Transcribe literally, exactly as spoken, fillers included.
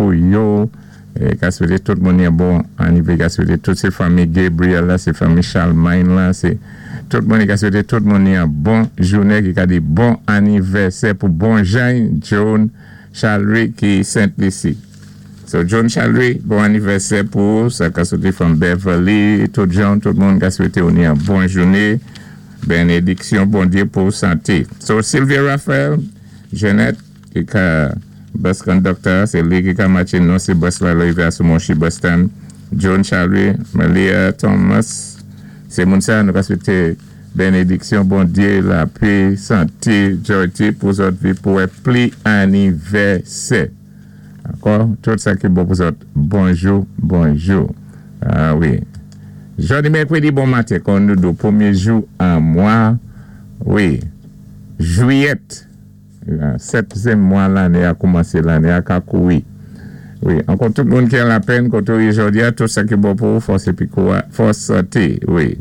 pou yo. É ka swété tout moun yon bon annivè, ka swété tout sé fanmi Gabriel la, sé fanmi Charlemagne la, sé tout moun ka swété tout moun yon bon jounen ki ka di bon annivèsè pou bon Jean John Charles ki Saint Lucie. So John Charles, bon annivèsè pou sa ka swété from Beverly, tout John, tout moun ka swété ou yon bon jounen. Bénédiksyon Bondyé pou santé. So Sylvia Raphael, Jeannette ki ka bus conductor, sé li ki ka matché nou sé bus la rivé a sou Monchy bus stand. John Charlie, Malia Thomas, sé moun sa nou ka swété bénédiksyon Bondyé, lapè, santé, joy pou zòt vi pou wè pli annivèsè. Ankò, tout sa ki bon pou zòt. Bonjou, bonjou. Ah wi. Jòdi mèkwédi bon maten, kon nou do pwémyé jou an mwa, wi, jwiyèt, sètyèm mwa lanné a koumansé, lanné a ka kouri. Wi, ankò tout moun ki an lapèn, koto jòdi a, tout sa ki bon pou fòs épi fòs santé, wi.